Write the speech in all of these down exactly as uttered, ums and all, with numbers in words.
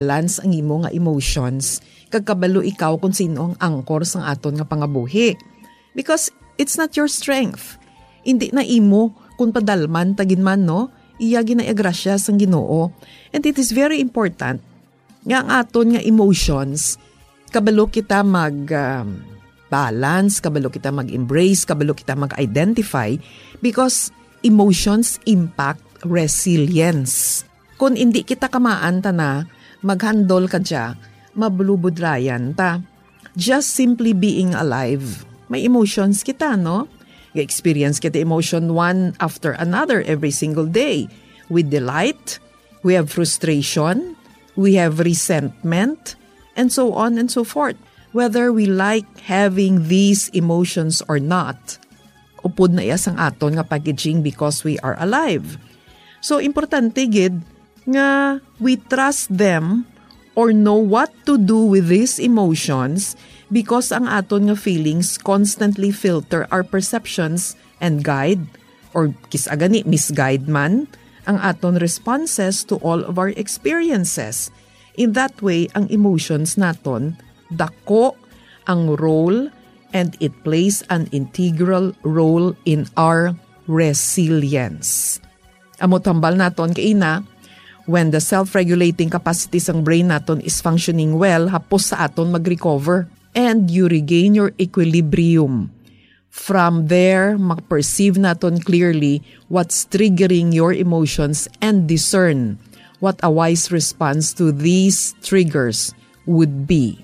balance ang imo nga emotions, kag kabalo ikaw kung sino ang angkor sang aton nga pangabuhi. Because it's not your strength. Hindi na imo kung padalman ta gid man, no? Iya gid na iya grasya sang Ginoo. And it is very important nga ang aton nga emotions, kabalo kita mag, um, balance, kabalo kita mag-embrace, kabalo kita mag-identify, because emotions impact resilience. Kung hindi kita kamaan ta na, mag-handle ka dya, mabulubudrayan ta. Just simply being alive, may emotions kita, no? Ga-experience kita emotion one after another every single day. We delight, we have frustration, we have resentment, and so on and so forth. Whether we like having these emotions or not, upod na iya sang aton nga packaging because we are alive. So, importante gid nga we trust them or know what to do with these emotions, because ang aton nga feelings constantly filter our perceptions and guide, or kis-a gani misguide man, ang aton responses to all of our experiences. In that way, ang emotions naton dako ang role, and it plays an integral role in our resilience. Amo tambal naton kaina, when the self-regulating capacity sang brain naton is functioning well, hapos sa aton mag-recover and you regain your equilibrium. From there, ma-perceive naton clearly what's triggering your emotions and discern what a wise response to these triggers would be.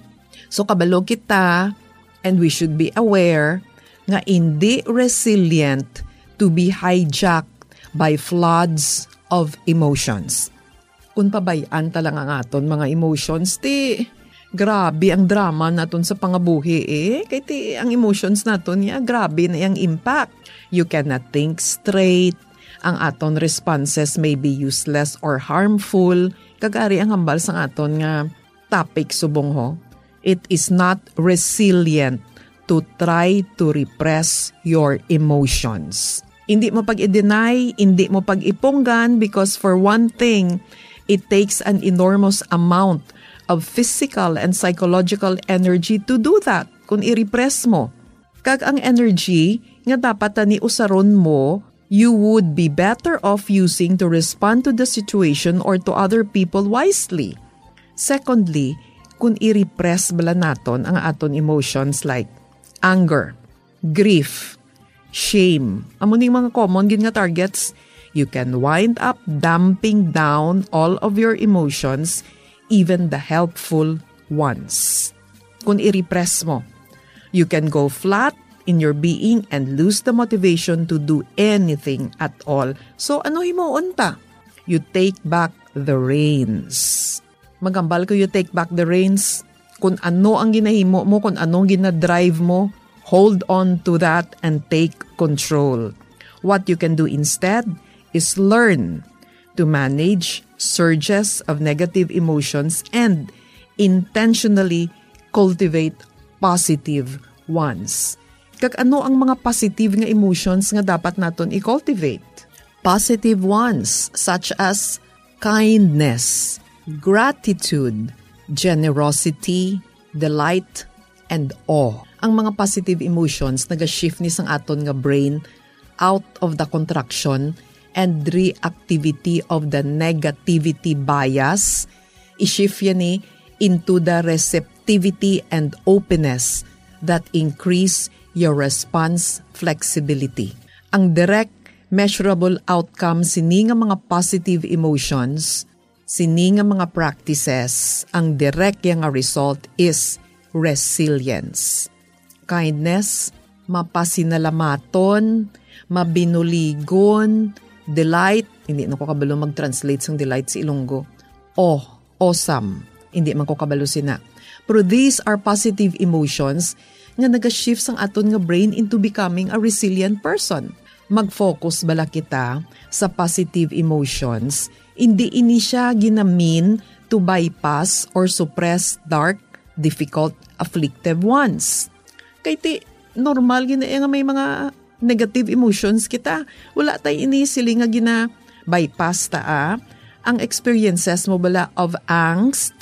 So, kabalo kita, and we should be aware nga indi resilient to be hijacked by floods of emotions. Kung pabay-an ta lang ang aton mga emotions, ti grabe ang drama naton sa pangabuhi, eh. Kay ti ang emotions naton niya, grabe na yang impact. You cannot think straight. Ang aton responses may be useless or harmful. Kag ari ang hambal sang aton nga topic subong, ho. It is not resilient to try to repress your emotions. Hindi mo pag-i-deny, hindi mo pag-ipunggan, because for one thing, it takes an enormous amount of physical and psychological energy to do that kung i-repress mo. Kag ang energy nga dapat tani usaron mo, you would be better off using to respond to the situation or to other people wisely. Secondly, kung i-repress bala naton ang aton emotions like anger, grief, shame, amo ning mga common gid nga targets, you can wind up dumping down all of your emotions, even the helpful ones. Kung i-repress mo, you can go flat in your being and lose the motivation to do anything at all. So, ano himuon ta? You take back the reins. Magambal ko, you take back the reins. Kung ano ang ginahimo mo, kung ano ang ginadrive mo, hold on to that and take control. What you can do instead is learn to manage surges of negative emotions and intentionally cultivate positive ones. Kag ano ang mga positive nga emotions nga dapat naton i-cultivate? Positive ones such as kindness, gratitude, generosity, delight, and awe. Ang mga positive emotions naga-shift ni sang aton nga brain out of the contraction and reactivity of the negativity bias. I-shift yan ni into the receptivity and openness that increase your response flexibility. Ang direct measurable outcome sini nga mga positive emotions, sini nga mga practices, ang direct ya nga result is resilience. Kindness, mapasinalamaton, mabinuligon, delight, hindi na ko kabalo mag-translate sang delight sa Ilonggo. Oh, awesome. Hindi man ko kabalo sina. Pero these are positive emotions nga naga-shift sang aton nga brain into becoming a resilient person. Mag-focus bala kita sa positive emotions, hindi ini siya ginamin to bypass or suppress dark, difficult, afflictive ones. Kay ti, normal gid na nga may mga negative emotions kita. Wala tay ini sila nga gina-bypass ta, ah. Ang experiences mo bala of angst,